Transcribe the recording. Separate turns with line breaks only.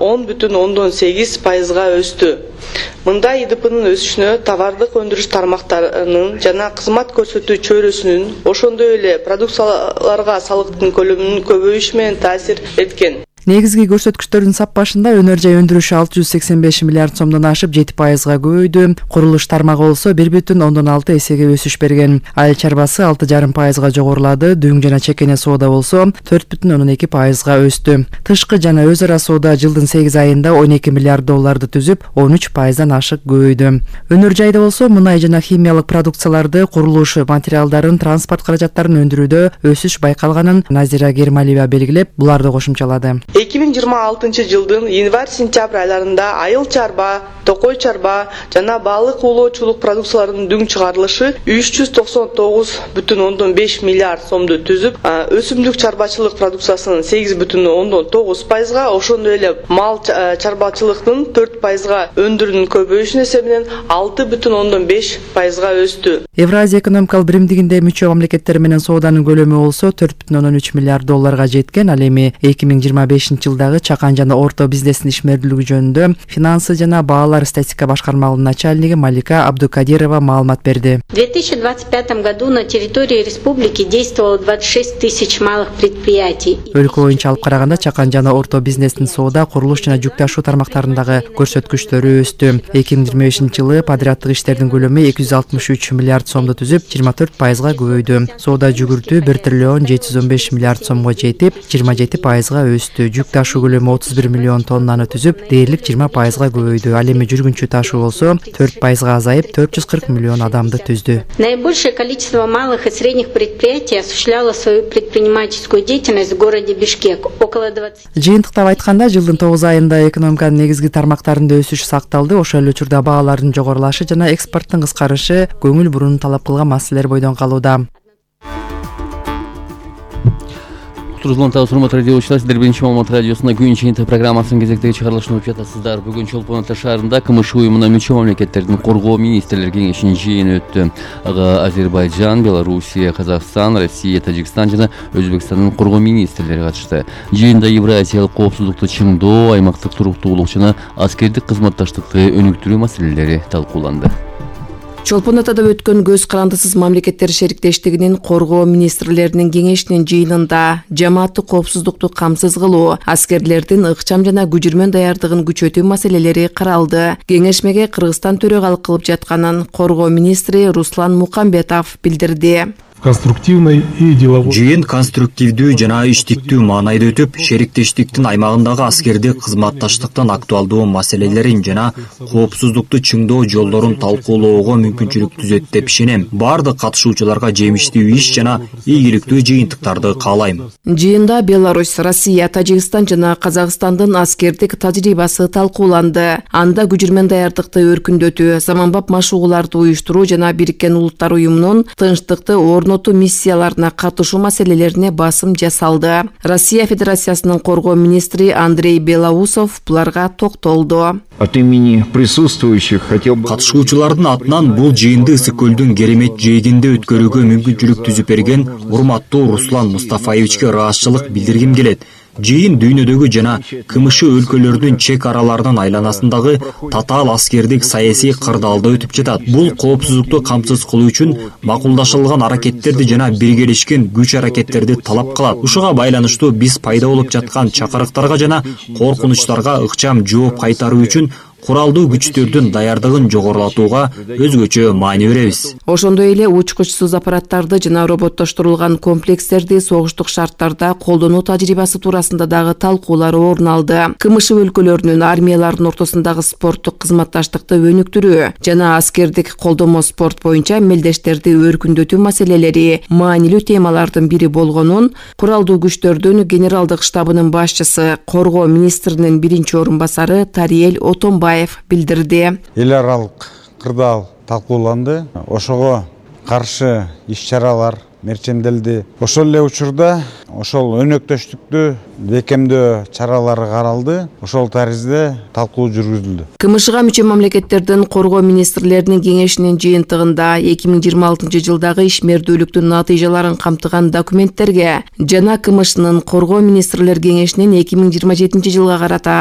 10,8%-га өстү. Мындай ИДПнын өсүшүнө товардык өндүрүш тармактарынын жана кызмат көрсөтүү чөйрөсүнүн, ошондой эле продукцияларга салыктын көлөмүнүн көбөйүшү менен таасир эткен.
Негизги көрсөткүчтөрдүн саппашында өнөр жай өндүрүшү 685 миллиард сомдон ашып 7%-га көбөйдү. Курулуш тармагы болсо 1,6 эсеге өсүш берген. Айыл чарбасы 6,5%-га жогорулады. Дүң жана чекене соода болсо 4,2%-га өстү. Тышкы жана өз ара соода жылдын 8 айында 12 миллиард долларды түзүп, 13%-дан ашык көбөйдү. Өнөр жайда болсо мунай жана химиялык продукцияларды, курулуш материалдарын, транспорт каражаттарын өндүрүүдө өсүш байкалганын Назира Гермалиева белгилеп, буларды кошумчалады.
2026 жылдын январь-сентябрь айларында айыл чарба, токой чарба жана балык уулоочулук продукцияларынын дүң чыгарылышы 399,5 миллиард сомду түзүп, өсүмдүк чарбачылык продукциясынын 8,9%-га, ошондой эле мал чарбачылыктын 4%-га өндүрүүнүн көбөйүшүнүн эсебинен 6,5%-га өстү.
Евразия экономикалык биримдигинде мүчө мамлекеттер менен сооданын көлөмү болсо 4,3 миллиард долларга жеткен. Ал эми 2025 жылдагы чакан жана орто бизнестин ишмердүүлүгү жөнүндө финансы жана баалар статистика башкармалыгынын начальниги Малика Абдукадирова маалымат берди.
В 2025 году на территории республики действовало 26 тысяч малых предприятий.
Өлкө боюнча алып караганда чакан жана орто бизнестин соода, курулуш жана жүк ташуу тармактарындагы көрсөткүчтөрү өстү. 2025 жылы подряддык иштердин көлөмү 263 миллиард сомду түзүп, 24%-га көбөйдү. Соода жүгүртүү 1 триллион 715 миллиард сомго жетип, 27%-га өстү. Жүк ташуу көлөмү 31 миллион тоннаны түзүп, дээрлик 20%-га көбөйдү. Ал эми жүргүнчү ташуу болсо 4%-га азайып, 440 миллион адамды түздү.
Наибольшее количество малых и средних предприятий осуществляло свою предпринимательскую деятельность в городе Бишкек. Около 20.
Жыйынтыктап айтканда, жылдын 9 айында экономиканын негизги тармактарында өсүш сакталды. Ошол эле учурда баалардын жогорулашы жана экспорттун кыскарышы көңүл буруну талап кылган маселелер бойдон калууда.
Урматтуу радиочулар, сиздер Биринчи Маалымат радиосунда күн чыйынтыгы программасынын кезектеги чыгарылышын угуп жатасыздар. Бүгүн Чолпон Ата шаарында КМШ уюмуна мүчө мамлекеттердин коргоо министрлер кеңешинин жыйыны өттү. Ага Азербайжан, Белоруссия, Казакстан, Россия, Тажикстан жана Өзбекстандын коргоо министрлери катышты. Жыйында Евразиялык коопсуздукту чыңдоо, аймактык туруктуулук жана аскердик кызматташтыкты өнүктүрүү маселелери талкууланды.
Чолпон Атада өткөн көз карандысыз мамлекеттер шериктештигинин коргоо министрлеринин кеңешинин жыйынында жамааттык коопсуздукту камсыз кылуу, аскерлердин ыкчам жана күжүрмөн даярдыгын күчөтүү маселелери каралды. Кеңешмеге Кыргызстан төрөгалык кылып жатканын коргоо министри Руслан Мукамбетов билдирди.
Жыйын конструктивдүү жана иштиктүү маанайда өтүп, шериктештиктин аймагындагы аскердик кызматташтыктын актуалдуу маселелерин жана коопсуздукту чыңдоо жолдорун талкуулоого мүмкүнчүлүк түзөт деп ишенем. Бардык катышуучуларга жемиштүү иш жана ийгиликтүү жыйынтыктарды каалайм.
Жыйында Беларусь, Россия, Тажикстан жана Казакстандын аскердик тажрыйбасы талкууланды. Анда күжүрмөн даярдыкты өркүндөтүү, заманбап машыгууларды уюштуруу жана Бириккен Улуттар уюмунун тынчтыкты миссияларына катышуу маселелерине басым жасалды. Россия Федерациясынын коргоо министри Андрей Белоусов буларга токтолду.
От имени присутствующих хотел бы
катышуучулардын атынан бул жыйынды Ысык көлдүн керемет жээгинде өткөрүүгө мүмкүнчүлүк түзүп берген урматтуу Руслан Мустафаевичке ыраазычылык билдиргим келет. Жыйын дүйнөдөгү жана КМШ өлкөлөрдүн чек араларынын айланасындагы татаал аскердик саясий кырдаалда өтүп жатат. Бул коопсуздукту камсыз кылуу үчүн макулдашылган аракеттерди жана биргелешкен күч аракеттерди талап кылат. Ушуга байланыштуу биз пайда болуп жаткан чакырыктарга жана коркунучтарга ыкчам жооп кайтаруу үчүн куралдуу күчтөрдүн даярдыгын жогорулатууга өзгөчө маани беребиз.
Ошондой эле учкучсуз аппараттарды жана роботтоштурулган комплекстерди согуштук шарттарда колдонуу тажрыйбасы туурасында дагы талкуулар орун алды. КМШ өлкөлөрүнүн армиялардын ортосундагы спорттук кызматташтыкты өнүктүрүү жана аскердик колдомо спорт боюнча мелдештерди өркүндөтүү маселелери маанилүү темалардын бири болгонун куралдуу күчтөрдүн генералдык штабынын башчысы, коргоо министринин биринчи орун басары Тариел Отонбаев билдирди.
Эл аралык кырдаал талкууланды. Ошого каршы иш-чаралар мерченделди. Ошол эле учурда ошол өнөктөштүктү бекемдөө чаралары каралды. Ошол таризде талкуу жүргүзүлдү.
КМШга мүчө мамлекеттердин коргоо министрлеринин кеңешинин жыйынтыгында 2026 жылдагы ишмердүүлүктүн натыйжаларын камтыган документтерге жана КМШнын коргоо министрлер кеңешинин 2027 жылга карата